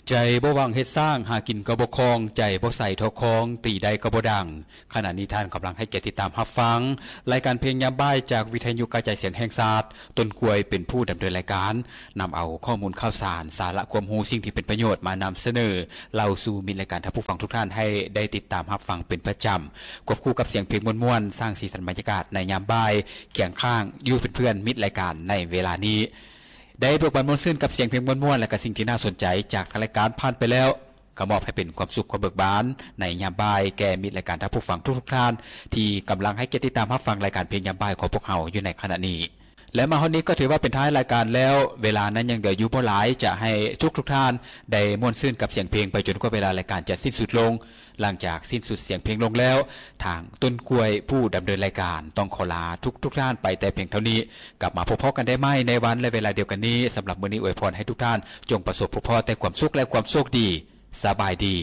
ໃຈບໍ່ຫວັງເຮັດສ້າງ ຫາກິນກໍບໍ່ຄ່ອງ ໃຈບໍ່ໃສທໍ່ຄອງ ຕີໄດ້ກໍບໍ່ດັງ. ຂະນະນີ້ທ່ານກຳລັງໃຫ້ກຽດຕິດຕາມຮັບຟັງ ລາຍການເພງຍາມບ່າຍ ຈາກວິທະຍຸກະຈາຍສຽງແຫ່ງຊາດ. ຕົ້ນກ້ວຍເປັນຜູ້ດຳເນີນລາຍການ ນຳເອົາຂໍ້ມູນຂ່າວສານ ສາລະຄວາມຮູ້ ສິ່ງທີ່ເປັນປະໂຫຍດ ມານຳສະເໜີເລົ່າສູ່ມິດລາຍການ ທ່ານຜູ້ຟັງທຸກທ່ານ ໃຫ້ໄດ້ຕິດຕາມຮັບຟັງເປັນປະຈຳ ຄວບຄູ່ກັບສຽງເພງມ່ວນໆ ສ້າງສີສັນບັນຍາກາດໃນຍາມບ່າຍ ຄຽງຂ້າງຢູ່ເປັນເພື່ອນມິດລາຍການໃນເວລານີ້. ໄດ້ບວກບັນມ່ວນຊື່ນກັບສຽງເພງມ່ວນໆ ແລະ ກະສິ່ງທີ່ໜ້າສົນໃຈຈາກທາງລາຍການຜ່ານໄປແລ້ວ ກໍມອບໃຫ້ເປັນຄວາມສຸກຄວາມເບີກບານໃນຍາມບ່າຍ ແກ່ມິດລາຍການທ່ານຜູ້ຟັງທຸກໆທ່ານ ທີ່ກຳລັງໃຫ້ກຽດຕິດຕາມຮັບຟັງລາຍການເພງຍາມບ່າຍຂອງພວກເຮົາຢູ່ໃນຂະນະນີ້. ແລະ ມາຮອດນີ້ກໍຖືວ່າເປັນທ້າຍລາຍການແລ້ວ ເວລານັ້ນຍັງເຫຼືອຢູ່ບໍ່ຫຼາຍ ຈະໃຫ້ທຸກໆທ່ານໄດ້ມ່ວນຊື່ນກັບສຽງເພງໄປຈົນກວ່າເວລາລາຍການຈະສິ້ນສຸດລົງ. ຫຼັງຈາກສິ້ນສຸດສຽງເພງລົງແລ້ວ ທາງຕົ້ນກ້ວຍຜູ້ດຳເນີນລາຍການຕ້ອງຂໍລາທຸກໆທ່ານໄປແຕ່ພຽງເທົ່ານີ້. ກັບມາພົບພໍ້ກັນໄດ້ໃໝ່ໃນວັນ ແລະ ເວລາດຽວກັນນີ້. ສຳລັບມື້ນີ້ອວຍພອນໃຫ້ທຸກທ່ານຈົ່ງປະສົບພົບພໍ້ແຕ່ຄວາມສຸກ ແລະ ຄວາມໂຊກດີ. ສະບາຍດີ.